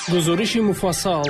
Гузориши муфассал.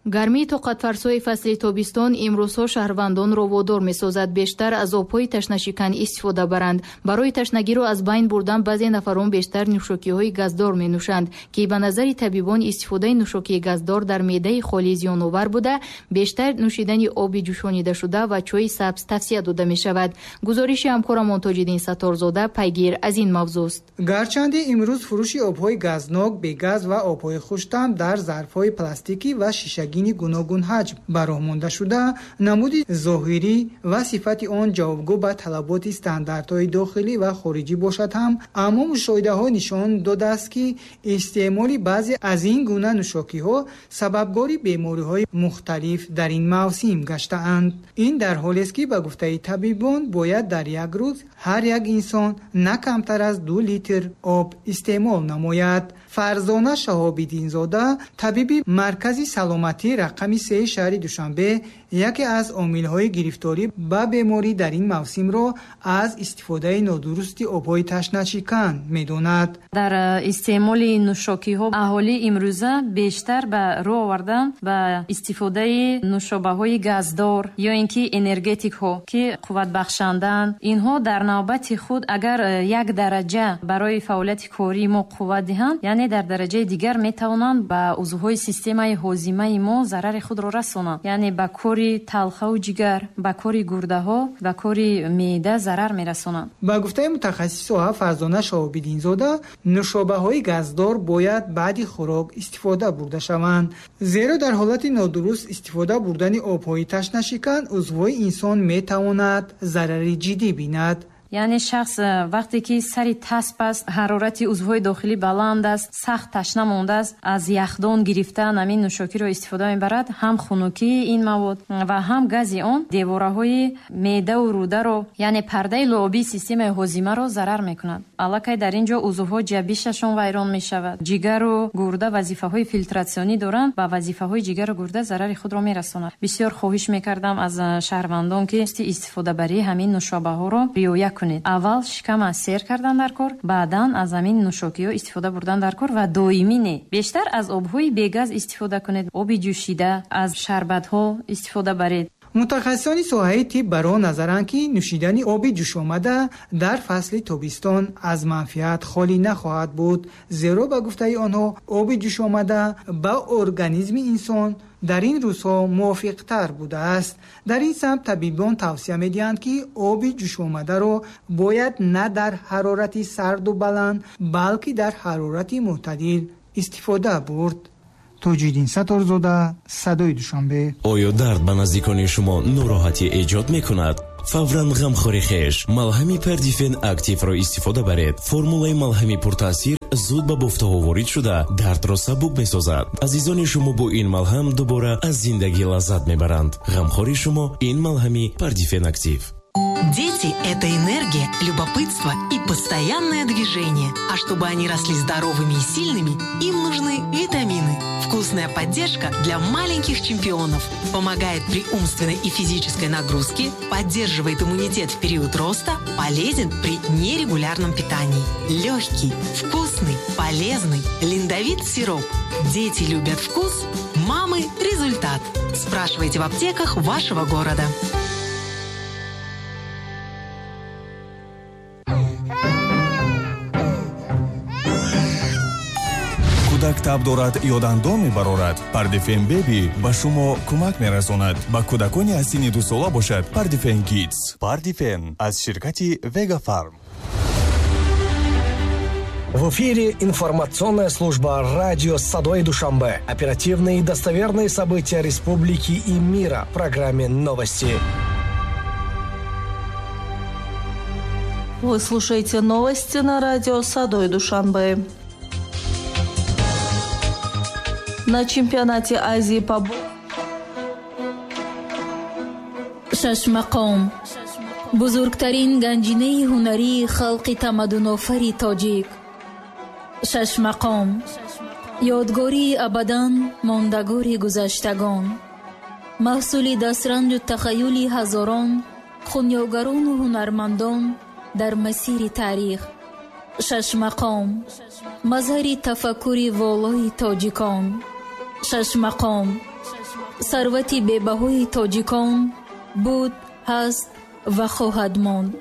Гармии тоқатфарсои фасли тобистон имрӯзҳо шаҳрвандонро водор месозад бештар аз обҳои ташнашикан истифода баранд. Барои ташнагиро аз байн бурдан баъзе нафарон бештар нӯшокиҳои газдор менӯшанд, ки ба назари табибон истифодаи нӯшокии газдор дар меъдаи холӣ зиёновар буда, бештар нӯшидани оби ҷӯшонидашуда ва чойи сабз тавсия дода мешавад. Гузориши ҳамкорамон Тоҷиддин Сатторзода пайгир аз ин мавзӯст. Гарчанде имрӯз фурӯши обҳои газнок, бегаз ва обҳои хуштаъм дар зарфҳои пластикӣ ва шишагӣ гуногунҳаҷм ба роҳ монда шуда, намуди зоҳирӣ ва сифати он ҷавобгӯ ба талаботи стандартҳои дохилӣ ва хориҷӣ бошад ҳам, аммо мушоҳидаҳо нишон додааст, ки истеъмоли баъзе аз ин гуна нӯшокиҳо сабабгори бемориҳои мухталиф дар ин мавсим гаштаанд. Ин дар ҳолест, ки ба гуфтаи табибон бояд дар як рӯз ҳар як инсон на камтар аз 2 литр об истеъмол намояд. Фарзона Шаҳобиддинзода, табиби маркази саломатӣ рақами 3 шаҳри Душанбе, яке аз омилҳои гирифторӣ ба беморӣ дар ин мавсимро аз истифодаи нодурусти обҳои ташнашикан медонад. Дар истеъмоли нӯшокиҳо аҳолӣ имрӯза бештар ба рӯ овардан ба истифодаи нӯшобаҳои газдор ё ин ки энергетикҳо, ки қувватбахшандаанд. Инҳо дар навбати худ агар як дараҷа барои фаъолияти кории мо қувват диҳанд, яъне дар дараҷаи дигар метавонанд ба узвҳои системаи ҳозимаи мо зарари худро расонанд, яъне ба кори талхаву ҷигар, ба кори гурдаҳо, ба кори меъда зарар мерасонанд. Ба гуфтаи мутахассиси соҳа Фарзона Шаҳобиддинзода, нӯшобаҳои газдор бояд баъди хӯрок истифода бурда шаванд, зеро дар ҳолати нодуруст истифода бурдани обҳои ташнашикан узвҳои инсон метавонад зарари ҷиддӣ бинад. Яъне шахс вақте ки сари тасп аст, ҳарорати узвҳои дохилӣ баланд аст, сахт ташна мондааст, аз яхдон гирифтан ҳамин нӯшокиро истифода мебарад, ҳам хунукии ин мавод ва ҳам гази он девораҳои меъдаву рӯдаро, яъне пардаи луобии системаи ҳозимаро зарар мекунад. Аллакай дар ин ҷо узвҳо ҷабишашон вайрон мешавад. Ҷигару гурда вазифаҳои филтратсионӣ доранд ва вазифаҳои ҷигару гурда зарари худро мерасонад. Бисёр хоҳиш мекардам аз шаҳрвандон, ки истифодабарии ҳамин нӯшобаҳоро риоя кунед. Аввал шикама сер кардан дар кор, баъдан аз ҳамин нӯшокиҳо истифода бурдан дар кор ва доимӣ не. Бештар аз обҳои бегаз истифода кунед, оби ҷӯшида, аз шарбатҳо истифода баред. Мутахассисони соҳаи тиб бар он назаранд, ки нӯшидани оби ҷӯшомада дар фасли тобистон аз манфиат холӣ нахоҳад буд, зеро ба гуфтаи онҳо оби ҷӯшомада ба организми инсон дар ин рӯзҳо мувофиқтар будааст. Дар ин самт табибон тавсия медиҳанд, ки оби ҷӯшомадаро бояд на дар ҳарорати сарду баланд, балки дар ҳарорати мӯътадил истифода бурд. Тоҷиддин Сатторзода, Садои Душанбе. Оё дард ба наздикони шумо нороҳатӣ эҷод мекунад? Фавран ғамхори хеш малҳами Пердифен Активро истифода баред. Формулаи малҳами пуртаъсир зуд ба бофтаҳо ворид шуда, дардро сабук месозад. Азизони шумо бо ин малҳам дубора аз зиндагӣ лаззат мебаранд. Ғамхори шумо ин малҳами Пердифен Актив. Дети – это энергия, любопытство и постоянное движение. А чтобы они росли здоровыми и сильными, им нужны витамины. Вкусная поддержка для маленьких чемпионов. Помогает при умственной и физической нагрузке, поддерживает иммунитет в период роста, полезен при нерегулярном питании. Легкий, вкусный, полезный Линдовит сироп. Дети любят вкус, мамы – результат. Спрашивайте в аптеках вашего города. Кӯдак таб дорад ё дандон мебарорад, Пардифен Беби ба шумо кӯмак мерасонад. Ба кӯдакони аз синни 2 сола бошад Пардифен Кидс. Пардифен аз ширкати Вега Фарм. В эфире информационная служба радио «Садои Душанбе». Оперативные и достоверные события республики и мира в программе «Новости». Вы слушаете новости на радио «Садои Душанбе». На чемпионате Азии по Шашмақом, бузургтарин ганҷинаи ҳунарии халқи тамаддунофари тоҷик. Шашмақом, ёдгории абадан мондагори гузаштагон, маҳсули дастранҷу тахаюли ҳазорон хунёгарону ҳунармандон дар масири таърих. Шашмақом, мазҳари тафаккури волои тоҷикон. Шашмақом сарвати бебаҳои тоҷикон буд, ҳаст ва хоҳад монд.